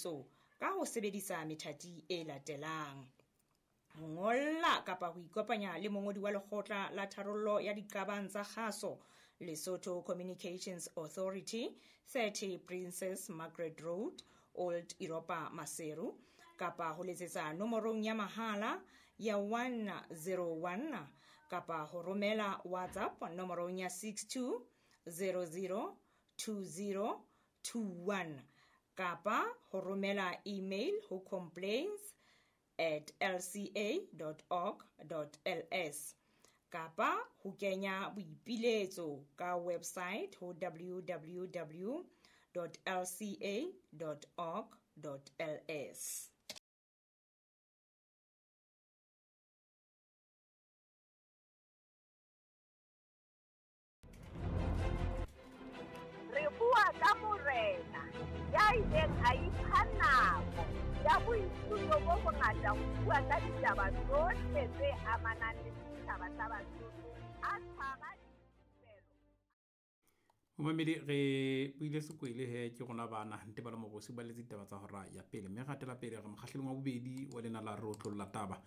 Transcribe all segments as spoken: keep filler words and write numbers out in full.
Boipiletso ka ho sebedisa methati e latelang: ho ngolla kapa ho ikopanya le mongodi wa Lekgotla la Tharollo ya Diqabang tsa Kgaso, Lesotho Communications Authority, thirty Princess Margaret Road, Old Europa, Maseru, kapa ho letsetsa nomorong ya mahala ya one zero one kapa ho romela WhatsApp nomorong ya six two zero zero two zero two one kapa ho romela email ho complaints at l c a dot org dot l s kapa ho kenya boipiletso ka website ho w w w dot l c a dot org dot l s. Re bua ka morena ya ileng a ipha nako ya boithuto bo bongata ho bua ka ditaba tsohle tse amanang le setjhaba sa Basotho, a tshwara dithupelo. Momamedi, re buile sekwele he ke rona bana Ntebalo Mogosi ba letse ditaba tsa hora ya pele, mme re hatela pele re mokgahlelong wa bobedi wa lena la Re Otlolla Taba.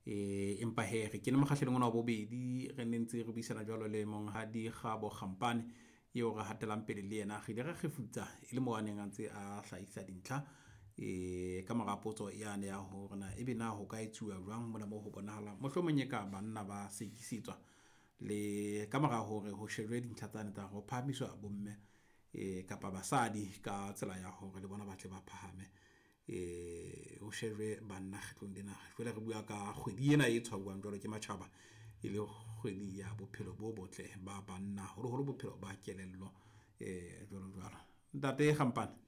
Eh, empa he re kene mokgahlelong ona wa bobedi, re ne ntse re buisana jwalo le Monghadi Kgabo Kgampane eo re hatelang pele le yena. Re ile ra kgefutsa e le moo a neng a ntse a hlahisa dintlha eh ka mora potso yane ya hore na ebe na ho ka etsuwa jwang mona moo ho bonahalang mohlomong e ka banna ba sekisetswa, le ka mora hore ho shejwe dintlha tsane tsa ho phahamiswa bomme eh kapa basadi ka tsela ya hore le bona ba tle ba phahame, eh ho shejwe banna kgetlong lena. Jwale re bua ka kgwedi ena e tshwauwang jwalo ke matjhaba e le kgwedi ya bophelo bo botle ba banna, haholoholo bophelo ba kelello eh jwalo jwalo. Ntate Kgampane.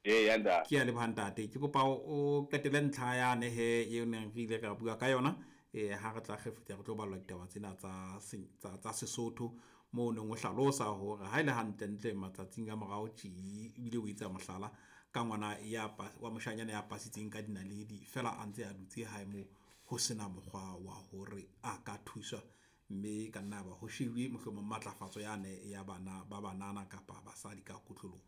Ee, ya ntate. Ke a leboha ntate. Ke kopa o qetele ntlha yane he eo neng re ile ra bua ka yona. Eh, ha re tla kgefutsa re tlo ballwa ditaba tsena tsa se-, tsa, tsa Sesotho moo o neng o hlalosa hore ha e le hantlentle matsatsing a morao tje, ebile o etsa mohlala ka ngwana ya pa-, wa moshanyana ya pasitseng ka dinaledi fela a ntse a dutse hae moo ho sena mokgwa wa hore a ka thuswa, mme ka nna ba ho shebuwe mohlomong matlafatso yane ya bana ba banana kapa basadi ka kotloloho.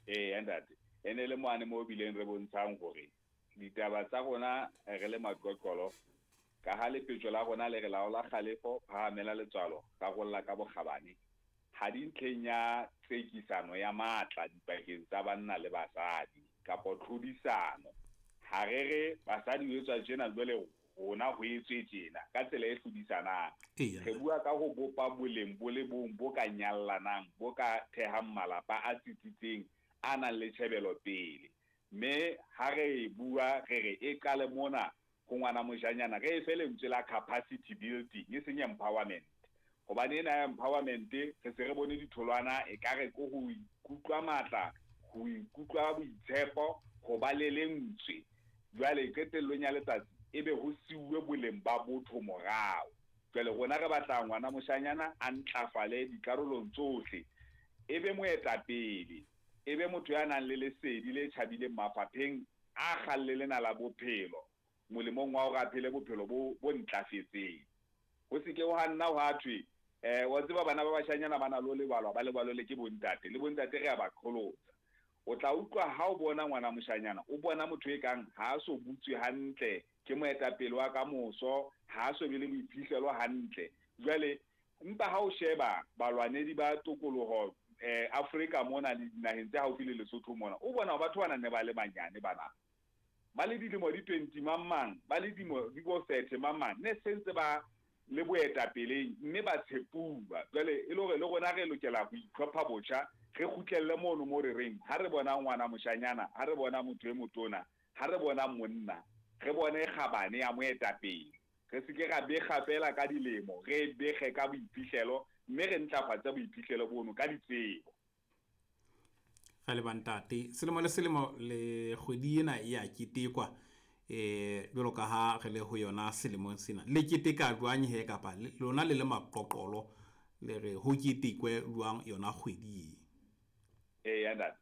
Ee, ntate. E ne le mane moo bileng re bontshang hore ditaba tsa rona re le maqoqolo, ka ha lepetjo la rona le re laola kgalefo, phahamela letswalo, rarolla ka bokgabane, ha di ntlheng ya tsekisano ya matla dipakeng tsa banna le basadi kapa tlhodisano. Ha re re basadi ho etswa tjena, jwale rona ho etswe tjena ka tsela e hlodisanang. Eya. Re bua ka ho bopa boleng bo le bong bo ka nyallanang, bo ka thehang malapa a tsitsitseng, a nang le tjhebelo pele. Mme ha re bua re re e qale mona ho ngwana moshanyana, re e fe lentswe la capacity building, e seng empowerment. Hobane ena ya empowerment re se re bone ditholwana, e ka re ke ho ikutlwa matla, ho ikutlwa boitshepo, ho ba le lentswe. Jwale qetellong ya letsatsi ebe ho siuwe boleng ba botho morao. Jwale rona re batla ngwana moshanyana a ntlafale dikarolong tsohle, ebe moetapele, ebe motho ya nang le lesedi le tjhabileng mafapheng a kgalle lena la bophelo, molemong wa hore a phele bophelo bo, bo ntlafetseng. Ho se ke ha nna hwa thwe, eh, wa tseba bana ba bashanyana ba na le ho lebalwa, ba lebalwe le ke bontate, le bontate re a ba qholotsa. O tla utlwa ha o bona ngwana moshanyana, o bona motho e kang ha a so butswe hantle, ke moetapele wa kamoso, ha a so be le boiphihlelo hantle. Jwale empa ha o sheba balwanedi ba tokoloho, eh, Afrika mona le dinaheng tse haufi le Lesotho mona, o bona batho bana ne ba le banyane bana. Ba le dilemo di twenty mang mang, ba le dilemo di bo thirty mang mang, ne se ntse ba le boetapeleng mme ba tshepuwa. Jwale e le hore le rona re lokela ho itlhopha botjha, re kgutlelle mono mo re reng ha re bona ngwana moshanyana, ha re bona motho e motona, ha re bona monna, re bone kgabane ya moetapele. Re se ke ra bekga fela ka dilemo, re bekge ka boiphihlelo, mme re ntlafatse boiphihlelo bono ka ditsebo. Re leboha ntate. Selemo le selemo le kgwedi ena e a ketekwa, eh, jwalo ka ha re le ho yona selemong sena. Le keteka jwang he kapa le, lona le le maqoqolo le re ho ketekwe jwang yona kgwedi e? Eya, ntate.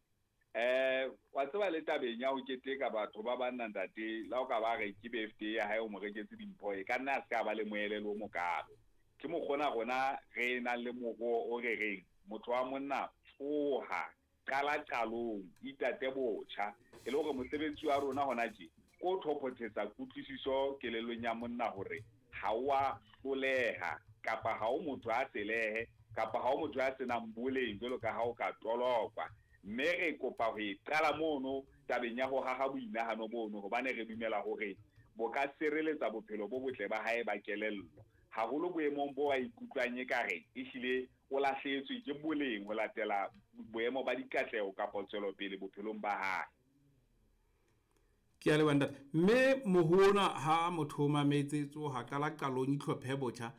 Eh, wa tseba le tabeng ya ho keteka batho ba banna ntate, la o ka ba re ke birthday ya hae o mo reketse dimpho, e ka nna a se ka ba le moelelo o mokalo. Ke mokgona rona re nang le moroho o re reng motho wa monna tsoha, Qala qalong, itate botjha, e le hore mosebetsi wa rona hona tje ko thopothetsa kutlwisiso kelellong ya monna hore ha o a hloleha kapa ha o motho a selehe kapa ha o motho a senang boleng jwalo ka ha o ka tolokwa. Mme re kopa ho e qala mono tabeng ya ho haha boinahano bono, hobane re dumela hore bo ka sireletsa bophelo bo botle ba hae ba kelello, haholo boemong bo a ikutlwang ekare ehlile o lahlehetswe ke boleng ho latela boemo ba dikatleho kapa tswelopele bophelong ba hae. Ke a leboha ntate. Mme mohona ha motho o mametse tsoha qala qalong itlhophe botjha,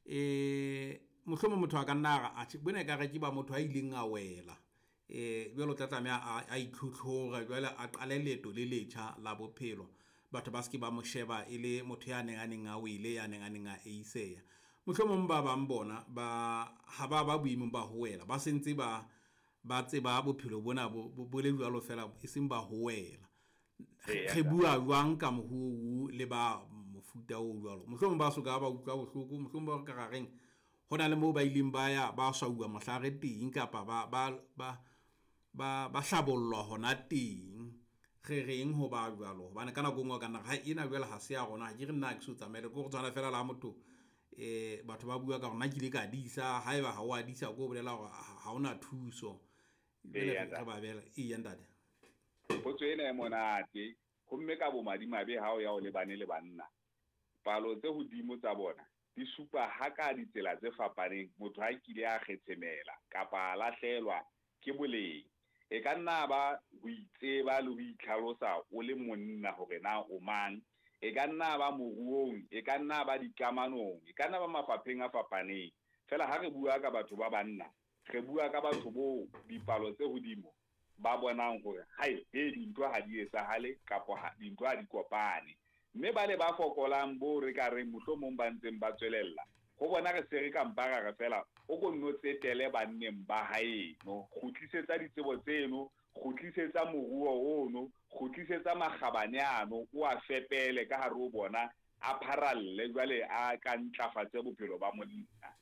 eh mohlomong motho a ka nna a re atjhe bona ekare ke ba motho a ileng a wela, eh jwale o tla tlameha a itlhotlhore, jwale a qale leeto le letjha la bophelo. Batho ba se ke ba mo sheba e le motho ya neng a neng a wele, ya neng a neng a eiseya. Mohlomong ba bang bona ba ha ba ba boemong ba ho wela, ba sentse ba ba tseba bophelo bona bo bo le jwalo fela, e seng ba ho wela. Re bua jwang ka mohu le ba mofuta o jwalo? Mohlomong ba soka ba utlwa bohloko, mohlomong ba ka reng ho na le moo ba ileng ba ya ba swauwa mohlare teng kapa ba ba ba ba ba hlabollwa hona teng. Re reng ho ba jwalo? Hobane ka nako e nngwe ka nna ha ena jwale ha se ya rona, ha ke re nna ha ke so tsamaele, ke hore tshwana fela la motho eh batho ba bua ka hore nna ke ile ka disa, haeba ha o a disa ko bolela hore ha hona thuso. Jwale re ba bela eya ntate. Potso ena e monate, homme ka bomadimabe ha o ya o lebane le banna, palo tse hodimo tsa bona di supa ha ka ditsela tse fapaneng motho ha kile a kgetshemela kapa a lahlelwa ke boleng. E ka nna ba ho itseba le ho itlhalosa o le monna hore na o mang, e ka nna ba moruong, e ka nna ba dikamanong, e ka nna ba mafapheng a fapaneng. Fela ha re bua ka batho ba banna, re bua ka batho bo dipalo tse hodimo ba bonang hore hai he dintho ha di etsahale kapa dintho ha di kopane. Mme ba le ba fokolang bo re ka reng mohlomong ba ntseng ba tswelella, ho bona re se re ka mpa ra re fela o ko nno tsetele banneng ba haeno, kgutlisetsa ditsebo tseno, kgutlisetsa moruo ono, kgutlisetsa makgabane ano, o a fepele ka hare ho bona, a pharalle jwale a ka ntlafatse bophelo ba monna.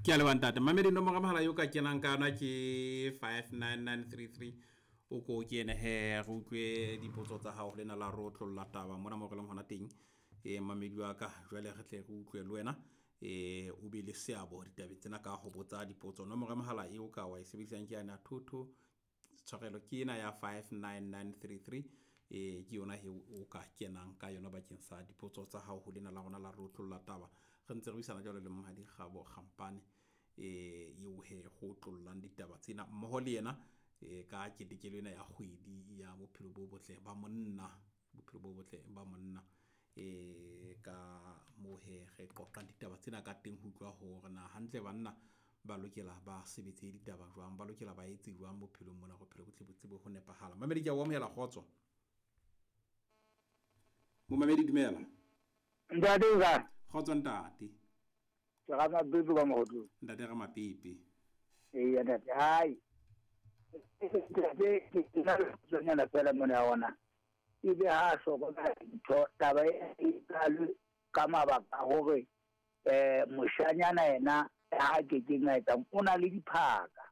Ke a leboha ntate. Mamedi nomoro ya mohala eo ka kenang ka yona ke five nine nine three three. O ko kene he re utlwe dipotso tsa hao lena la re otlolla taba mona mo re leng hona teng. Eh mamedi wa ka jwale re tle re utlwe le wena, eh o be le seabo ditabeng tsena ka ho botsa dipotso. Nomoro ya mohala eo ka wa e sebedisang ke yana thotho tshwarelo ke ena ya five nine nine three three. Eh ke yona he o ka kenang ka yona bakeng sa dipotso tsa hao ho lena la rona la re otlolla taba. Re ntse re buisana jwalo le Monghadi Kgabo Kgampane eh eo he go otlollang ditaba tsena mmoho le yena eh ka ketekelo ena ya kgwedi ya bophelo bo botle ba monna, bophelo bo botle ba monna. Eh ka moo he re qoqang ditaba tsena ka teng ho utlwa hore na hantle banna ba lokela ba sebetse ditaba jwang, ba lokela ba etse jwang bophelong mona bophelo bo tle bo tsebe ho nepahala. Mamedi ke a o amohela, kgotso. Momamedi dumela. Ntate o kae? Kgotso ntate. Ke Ramapepe ka Mohotlong. Ntate Ramapepe. Eya ntate, hai. Ntate ke na le potsonyana fela mona ya ona. Ebe ha a hlokomela dintho, taba e qalwe ka mabaka a hore eh moshanyana yena ha kekeng a etsang o na le diphaka.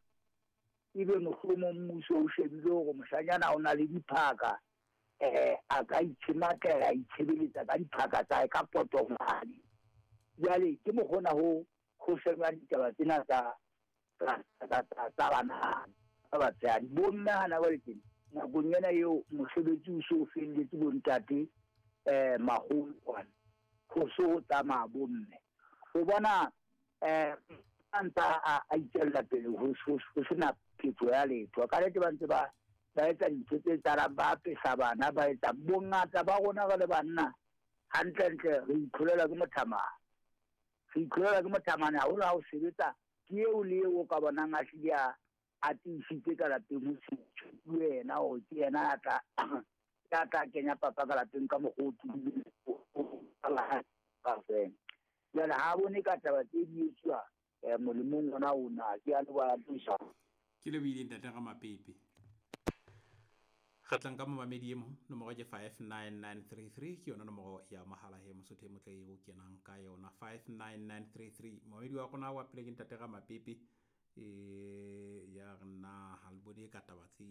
Ebe mohlomong mmuso o shebile hore moshanyana o na le diphaka, eh a ka itshematlela, a itshebeletsa ka diphaka tsa hae ka potomane. Jwale ke mokgona ho ho sheba ditaba tsena tsa tsa tsa bana ba batshehadi. Bomme hana ba le teng nakong ena eo mosebetsi o so felletse bontate eh maholo kwana, ho so ho tsamaya bomme. O bona eh a ntsa a itswella pele ho sena phetho ya letho. Ka nnete ba ntse ba ba etsa dintho tse tsalang, ba apesa bana, ba etsa bongata ba rona re le banna hantlentle re itlholela ke mothamane. Re itlholela ke mothamane haholo ha o sebetsa ke eo le eo o ka bonang a hlile a a tiisitse ka lapeng ho se wena hore ke yena a tla ya tla kenya papa ka lapeng ka mokgwa o tubileng kaofela. Jwale ha bone ka taba tse di etsuwa molemong ona ona. Ke a leboha thusa. Ke lebohile ntate Ramapepe. Re tlang ka momamedi e mong, nomoro ke five nine nine three three, ke yona nomoro ya mohala he Mosotho e motle eo kenang ka yona five nine nine three three. Momamedi wa rona wa pele ke ntate Ramapepe E ya re na ha le bone ka taba tse